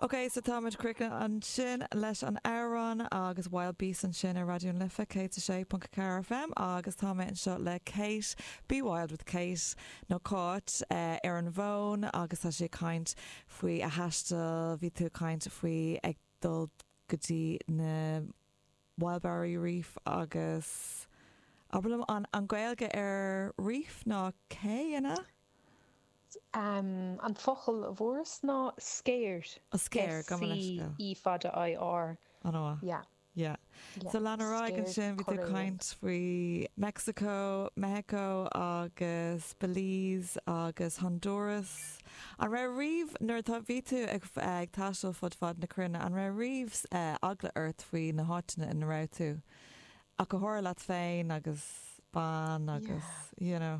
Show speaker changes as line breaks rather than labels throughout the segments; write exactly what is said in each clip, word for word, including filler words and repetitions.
Ok, so táimid críochnaithe ansin leis an amhrán agus Wild Beast ansin ar Raidió na Life céad a sé ponc ceathair FM agus tá mé anseo le Kate Be Wild with Kate nó Cáit uh, ar an bhfón agus tá sí ag caint faoi a taisteal bhí tú caint faoi ag dul go dtí na Wild Barrier Reef agus abair liom an an Gaeilge ar reef ná cé ina?
Um, an focal a bhfuaireas ná sceir.
A sceir go
C E fada I R.
An
Yeah.
Yeah.
Yeah.
So lean ar aghaidh ansin bhí tú caint faoi Mexico, Mexico agus Belize agus Honduras. An raibh riamh nuair tá bhí tú ag ag taisteal fud fad na cruinne an raibh riamh uh, eagla ort faoi na háiteanna ina raibh tú. Ach go háirithe leat féin agus bean agus you know.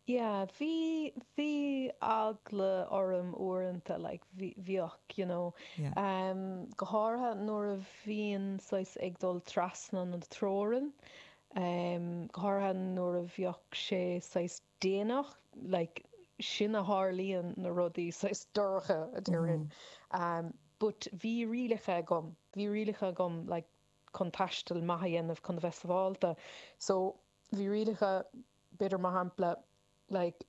Yeah, bhí bhí eagla orm uaireanta like bhíodh you know
Yeah.
um, go háirithe nuair a bhíonn saghas ag dul trasna na teorann um, go háirithe nuair a bhíodh sé saghas déanach like sin a tharlaíonn na rudaí saghas dorcha a déarfainn. Um, but bhí rialacha agam, bhí rialacha agam like chun taisteal maith a dhéanamh chun bheith sábháilte. So bhí rialacha b'fhéidir mar shampla like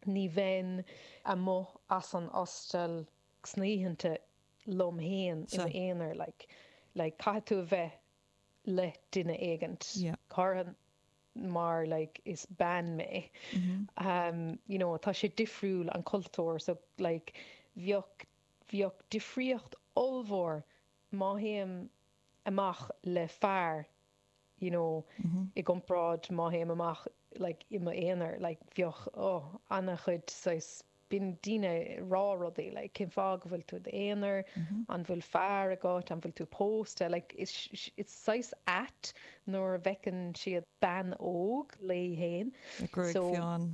ní bheinn amuigh as an hostel sna hoícheanta liom féin i
Sure.
m'aonar like like caithfidh tú a bheith le duine éigint.
Yeah.
Go háirithe mar like is bean mé.
Mm-hmm.
Um, you know, tá sé difriúil an cultúr so like bheadh bheadh difríocht ollmhór má théim amach le fear you know,
Mm-hmm.
i gcomparáid má théim amach like i m'aonar like bheadh oh, an-chuid saghas bíonn daoine ag rá rudaí like cén fáth go bhfuil tú d'aonar
Mm-hmm.
an bhfuil fear agat an bhfuil tú pósta like is it's saghas ait nuair a fheiceann siad bean óg léi féin
A gruaig
So-
fionn.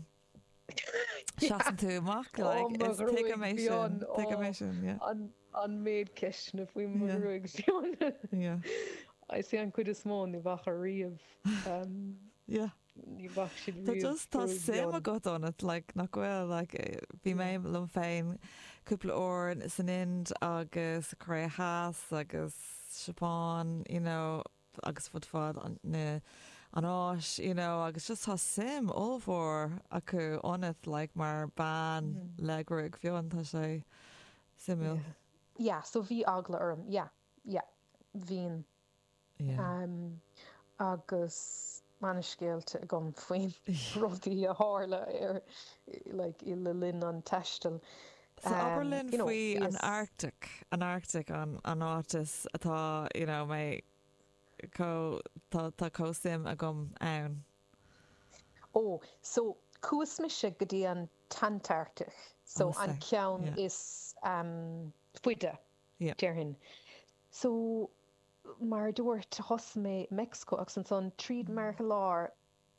Seasann tú amach
Oh,
like
mo
is tuigim
ghruaig
é sin
fhionn,
tuigim
oh.
é sin yeah.
an an méid ceisteanna faoi mo
Yeah.
ghruaig fhionn.
Yeah.
I see an chuid is mó ní bheadh riamh um,
Yeah.
ní bheadh siad
Tá
riamh
just tá
gruaig
suim
fhionn.
agat ionat like nach bhfuil like eh, bhí mé liom féin cúpla uair san Ind agus Cóiré Theas agus Japan you know agus fud fad an na an Áis you know agus just tá suim ollmhór acu ionat like mar bean
Mm.
le gruaig fhionn tá sé suimiúil.
Yeah. Yeah, so bhí eagla orm yeah, yeah, bhíonn
Yeah.
um, agus an-scéalta agam faoin rudaí a tharla ar like i le linn an taistil.
So abair
Um,
linn
you know,
faoi an
bhíos-
Arctic an Arctic an an áit is atá you know mé có tá tá chomh suim agam ann.
Ó, so chuaigh mise go dtí an Antarctic, so
Oh,
an
sea,
ceann
yeah.
is um, faide
Yeah.
déarfainn. So mar dúirt thosaigh mé Mexico agus ansan tríd Meiriceá Láir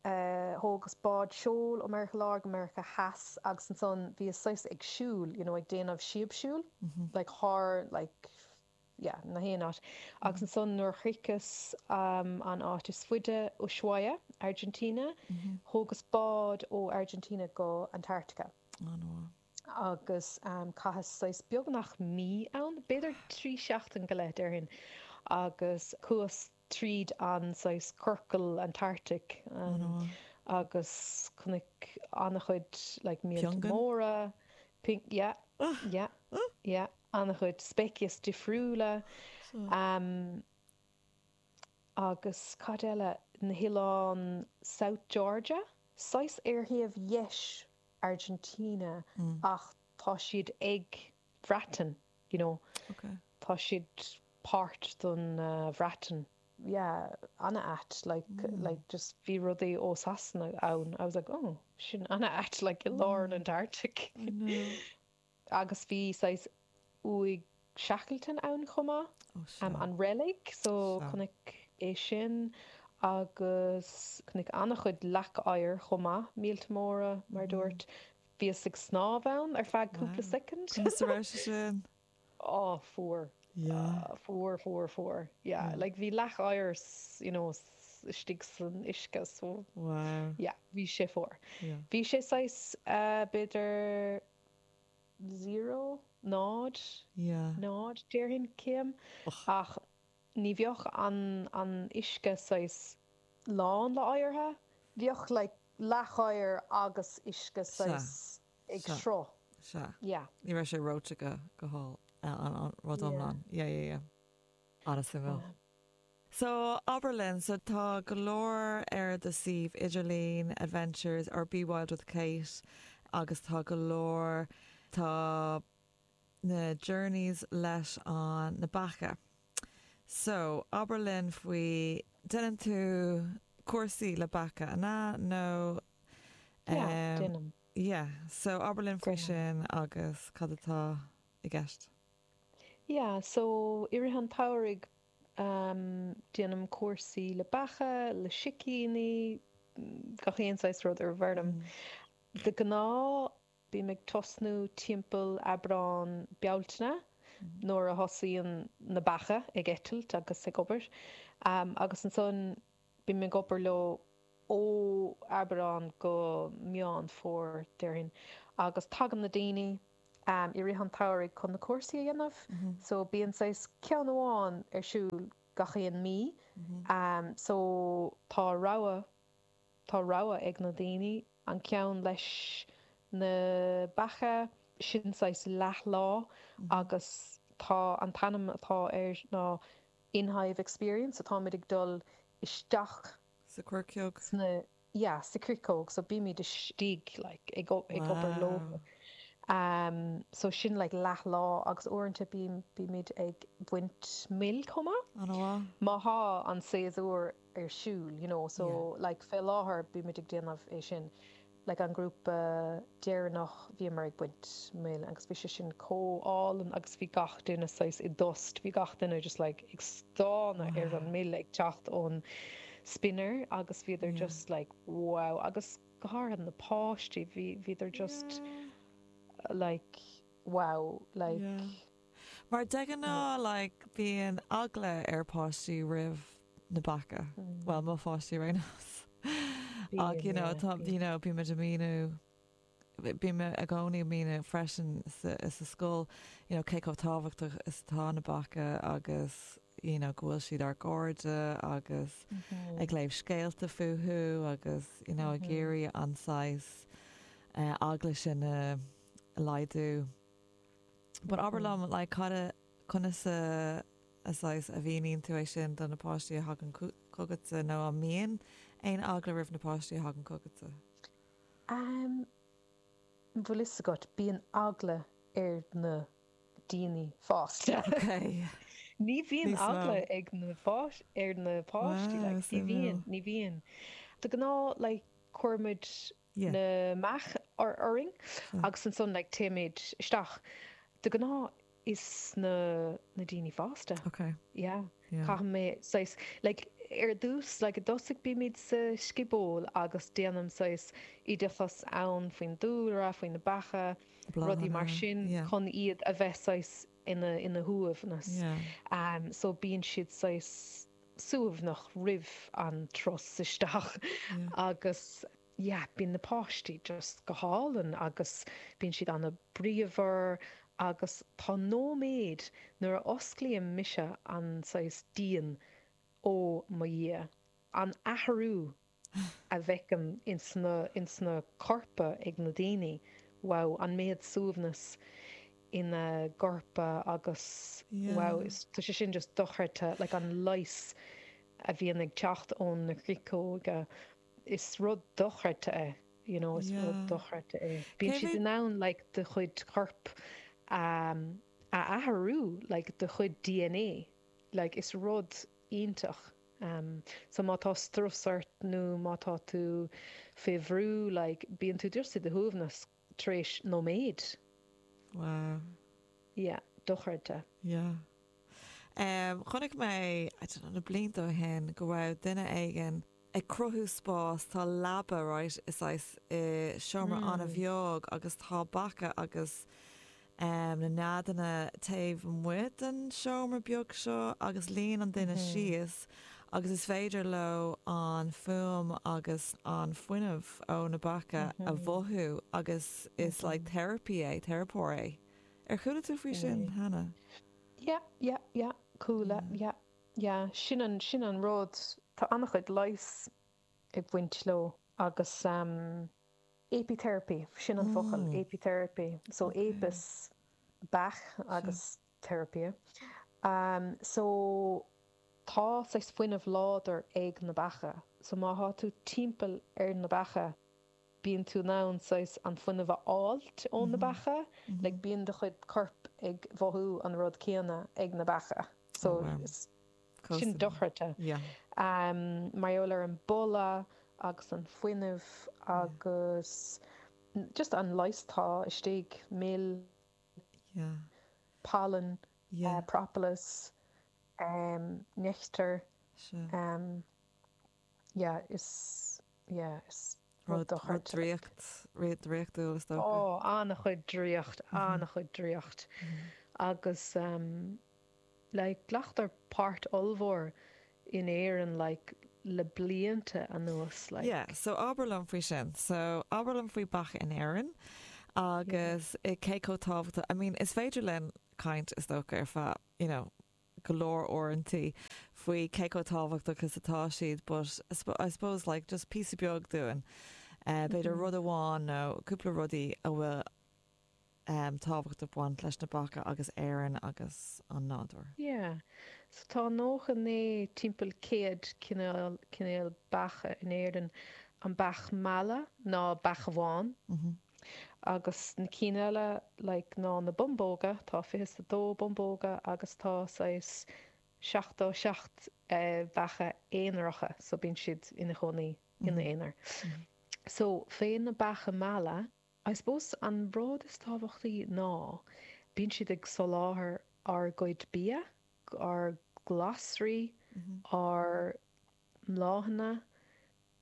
uh, thógas bád seoil ó Meiriceá Láir go Meiriceá Theas agus ansan bhí saghas ag siúl, you know, ag déanamh síobshiúil,
Mm-hmm.
like thar like yeah, na haon áit. Agus ansan nuair shroicheas um, an áit is faide Ushuaia, Argentina,
Mm-hmm.
thógas bád ó Argentina go Antarctica.
Oh, no.
agus um, chaitheas saghas beagnach mí ann, b'fhéidir trí seachtain go leith déarfainn, agus chuas tríd an saghas ciorcal Antarctic
Oh,
um,
no.
agus chonaic an-chuid like, míolta
Piongain?
móra, ping, yeah, yeah, yeah, an-chuid speiceas difriúla,
So,
um, agus cad eile na hoileáin South Georgia, saghas ar thaobh dheis Argentina
mm,
ach tá siad ag Bhreatain, you know,
okay.
tá siad páirt don uh, Bhreatain. Yeah, an-ait like
Mm.
like just bhí rudaí ó Sasana ann. I was like, oh, sin an-ait like i lár an
Mm.
Antarctic.
I know.
Agus bhí saghas uaigh Shackleton ann chomh maith.
Oh, sure.
um, an reilig, so
Sea.
chonaic é sin agus chonaic an-chuid leac oighir chomh maith, míolta móra mar
Mm.
dúirt. Bhíos ag snámh ann ar feadh cúpla
Wow.
soicind.
Conas a raibh sé sin?
Ó fuar.
Yeah.
Uh, fuar fuar fuar. Yeah,
Yeah.
like bhí leac oighir s- you know, s- istigh san uisce so
Wow.
yeah, bhí sé fuar.
Yeah.
Bhí sé saghas uh, b'fhéidir zero náid,
Yeah.
náid déarfainn céim ach ní bheadh an an uisce saghas lán le oigheartha, bheadh like leath-oighear agus uisce
Sea.
saghas ag
Sea.
sruth.
Sea.
Yeah.
Ní raibh sé reoite go go hol an an rud
Yeah.
iomlán. Yeah, yeah, yeah. An-suimiúil.
Yeah.
So abair linn, so tá go leor ar do suíomh idirlín Adventures or Be Wild with Kate agus tá go leor tá na journeys leis an na beacha. So abair linn faoi déanann tú cúrsaí le beacha an ea nó
Yeah,
um,
déanaim.
yeah, so abair linn faoi
Déanaim.
sin agus cad atá i gceist.
Yeah, so i rith an tsamhraidh um, déanaim cúrsaí le beacha, le sicíní, gach aon saghas rud ar bhfeirm.
Mm.
De ghnáth bím ag tosnú timpeall Aibreán Bealtaine nuair a thosaíonn na beacha ag eitilt agus ag obair. Um, agus ansan bím ag obair leo ó Aibreán go Meán Fómhair déarfainn. Agus tagann na daoine um, i rith an tsamhraidh chun na cúrsaí a dhéanamh.
Mm-hmm.
So bíonn saghas ceann amháin ar siúl gach aon mí.
Mm-hmm.
Um, so tá rogha tá rogha ag na daoine an ceann leis na beacha sin saghas leathlá agus tá an t-ainm atá air ná In-Hive Experience atáimid ag dul isteach
Sa chuirceog.
sna yeah, sa chuirceog so bímid istigh like, ag, o- ag obair leo.
Wow.
Um, so sin like leathlá agus uaireanta bím bímid ag baint mil chomh maith.
An-mhaith?
Má tá an séasúr ar siúl, you know, so like fé láthair bímid ag déanamh é sin. Like an grúpa deireanach bhíomar ag baint mil agus bhí sé sin chomh hálainn agus bhí gach duine saghas i dtost, bhí gach duine just like ag stánadh ar an mil ag teacht ón spinner agus bhíodar
Yeah.
just like wow agus go háirithe na páistí bhí bhíodar just
Yeah.
like wow like
Yeah. Mar de ghnáth like bíonn eagla ar páistí roimh na beacha.
mm,
Well mo pháistí ar aon nós. Ach you
bíonn
know
yeah,
tá
bíonn.
you know bímid ag míniú bím i gcónaí ag míniú freisin sa sa scoil you know cé chomh tábhachtach is atá na beacha agus you know go bhfuil siad ár gcairde agus
Mhm.
ag léamh scéalta fúthu agus you know ag
Mhm.
iarraidh an saghas uh, eagla sin a laghdú. But abair
Mhm.
liom like cad a conas a a saghas a mhíníonn tú é sin do na páistí a thagann chugatsa nó an mbíonn aon eagla roimh na páistí a thagann chugatsa.
Um, bhfuil fhios agat bíonn eagla ar na daoine fásta.
Okay.
Ní bhíonn
Níos mó.
eagla ag na pháis ar na páistí
Wow,
like, ní
suimiúil.
bhíonn ní bhíonn. De ghnáth like, cuirimid
Yeah.
na meacha ar orainn
Sea.
agus ansan like, téimid isteach. De ghnáth is na na daoine fásta.
Okay.
Yeah.
Yeah.
Caithfidh mé saghas like ar dtús like i dtosach bímid sa sciból agus déanaim saghas oideachas ann faoin dúlra, faoin na beacha, rudaí mar
Bláthanna.
sin
Yeah.
chun iad a bheith saghas ina ina shuaimhneas.
Yeah.
Um, so bíonn siad saghas suaimhneach roimh an turas isteach
Yeah.
agus yeah, bíonn na páistí just go hálainn agus bíonn siad an-bhríomhar agus tá nóiméad nuair a osclaím mise an saghas díon ó mo dhiaidh. An athrú a bhfeicim insna insna corpa ag na daoine, wow, an méid suaimhneas ina gcorpa agus wow,
Yeah.
is tá sé sin just dochreidte like an leigheas a bhíonn ag teacht ón na chuirceoga is rud dochreidte é, you know, is rud
Yeah.
dochreidte é. Bíonn
Cé
siad
mhéad
in ann like do chuid corp um, a athrú like do chuid DNA, like is rud iontach. Um, so má tá strus ort nó má tá tú fé bhrú, like bíonn tú just i do shuaimhneas tar éis nóiméad.
Wow.
Yeah, dochreidte.
Yeah. Um, chonaic mé I don't know, na blianta ó shin go raibh duine éigin ag cruthú spás tá leaba right is saghas i seomra
Mm.
an-bheag agus tá beacha agus um, na neadanna taobh amuigh den seomra beag seo agus luíonn an duine
Mhm.
síos agus is féidir leo an fuaim agus an fuinneamh ó na beacha a
Mhm.
mhothú agus is like
Mhm.
therapy é, teiripeoir é Ar chuala tú faoi sin cheana?
Yeah, yeah, yeah, chuala, yeah, yeah. Sin an sin an rud tá an-chuid leighis ag baint leo agus um, apitherapy sin an focal
Mm.
apitherapy so
Okay.
apis beach
Sure.
agus therapy. Um, so tá saghas fuinneamh láidir ag na beacha, so má tá tú timpeall ar na beacha bíonn tú in ann saghas an fuinneamh a fháilt ó na
Mhm.
beacha, like
Mhm.
bíonn do chuid corp ag mhothú an rud céanna ag na beacha.
Oh
So
wow.
is sin
Cosúil.
dochreidte.
Yeah.
Um, mar gheall ar an boladh agus an fuinneamh
Yeah.
agus just an leigheas atá istigh mil
Yeah.
pollen, uh,
Yeah.
propolis, um, nectar,
Sure.
um, yeah, is yeah, is rud
Rud rud
dochreidte like.
draíocht rud draíochtúil is dócha.
Ó an-chuid draíocht
Mhm.
an-chuid draíocht
Mhm.
agus um, like glactar páirt ollmhór in Éirinn like le blianta anuas like
Yeah, so abair liom faoi sin. So abair liom faoi beacha in Éirinn
yeah.
agus i cé chomh tábhachtach I mean, is féidir linn caint is dócha ar feadh, you know, go leor uaireanta faoi cé chomh tábhachtach is atá siad, but I sp- I suppose like just píosa beag dúinn. Uh, b'fhéidir
Mhm.
rud amháin nó cúpla rudaí a bhfuil um, tábhacht ag baint leis na beacha agus Éirinn agus an nádúr.
Yeah. So tá nócha naoi timpeall céad cineál cineál beacha in Éirinn an beach meala ná beach bhán
Mhm.
agus na cinn eile like ná na bumbóga tá fiche a dó bumbóga agus tá saghas seachtó seacht eh, beacha aonaracha so bíonn siad ina gcónaí ina
Mhm.
aonar.
Mhm.
So fé na beacha meala, I suppose an rud is tábhachtaí ná bíonn siad ag soláthar ár gcuid bia, ár glasraí,
Mhm.
ár mbláthanna,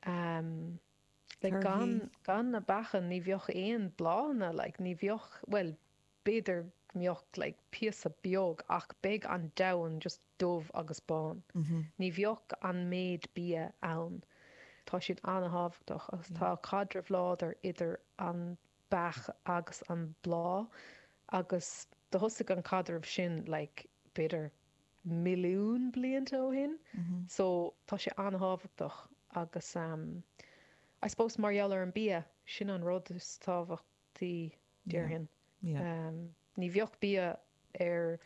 um, like
Torthaí.
gan gan na beacha ní bheadh aon bláthanna, like ní bheadh well b'fhéidir go mbeadh like píosa beag ach beidh an domhan just dubh agus bán.
Mhm.
Ní bheadh an méid bia ann. Tá siad an-tábhachtach agus
Yeah.
tá caidreamh láidir idir an beach agus an bláth agus do thosaigh an caidreamh sin like b'fhéidir milliún blianta ó shin.
Mhm.
So tá sé an-tábhachtach agus um, I suppose mar gheall ar an bia sin an rud is tábhachtaí
Yeah.
déarfainn.
Yeah.
Um, ní bheadh bia ar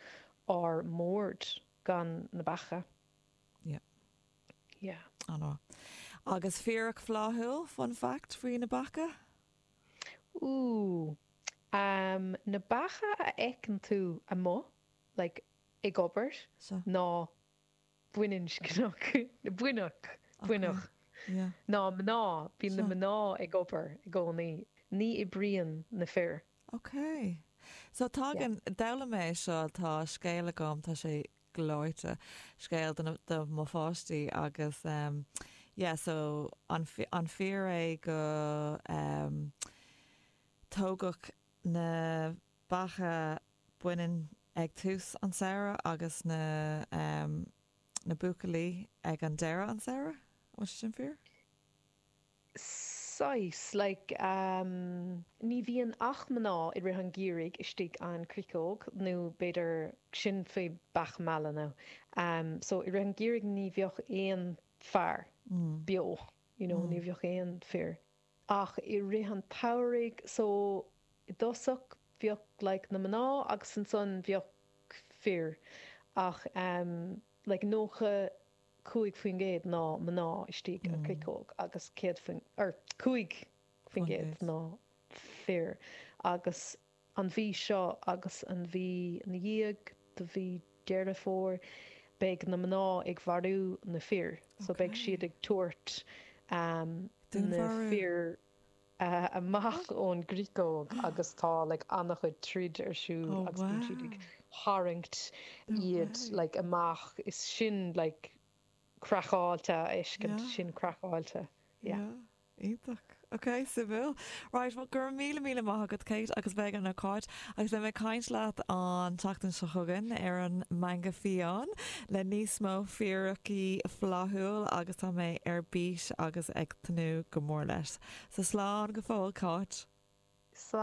ár mbord gan na beacha.
Yeah.
Yeah.
An Agus fíric fhlaithiúil fun fact faoi na beacha?
Ooh. Um, na beacha a fheiceann tú amuigh, like ag obair,
So
ná baininscneach buinneach
okay.
buinneach.
Yeah.
Ná mná bíonn na
So
mná ag obair i gcónaí, ní oibríonn na fir.
Okay. So
Yeah.
tagann d'fhoghlaim mé seo tá scéal agam tá sé gleoite scéal do do mo pháistí agus um, yeah, so an, fi- an fíor é go um, tógadh na beacha baineann ag tús an samhradh agus na um, na buachaillí ag an deireadh an samhradh? An sin fíor?
Saghas like um, ní bhíonn ach mná i rith an gheimhridh istigh an cricóg nó b'fhéidir sin faoi beach meala nó. Um, so i rith an gheimhridh ní bheadh aon fear
Mm.
beo, you know, ní
Mm.
bheadh aon fir. Ach i rith an tsamhraidh so i dtosach bheadh like, na mná agus ansan bheadh fir ach um, like nócha cúig faoin gcéad ná mná istigh an
Mm.
cricóg agus céad faoin or cúig faoin
Faoin
gcéad
gcéad.
ná fir agus an mhí seo agus an mhí ina dhiaidh do mhí Deireadh Fómhair beidh na mná ag mharú na fir so beidh
Okay.
siad ag tabhairt um, na
Dúnmharú.
fir uh, amach ón gcricóg agus tá like, an-chuid troid ar siúl
Oh
agus bíonn siad ag
wow.
tharraingt
No
iad
way.
like, amach is sin like, craiceáilte a fheiscint
Yeah.
sin craiceáilte. Yeah.
Yeah. Iontach. Ok, suimiúil. Right, well, go raibh míle míle maith agat Kate agus beidh an ócáid agus beidh mé ag caint leat an tseachtain seo chugainn ar an Meangadh Fiáin le níos mó fíricí flaithiúil agus tá mé ar bís agus ag tnúth go mór leis. Sa slán go fóill Cáit.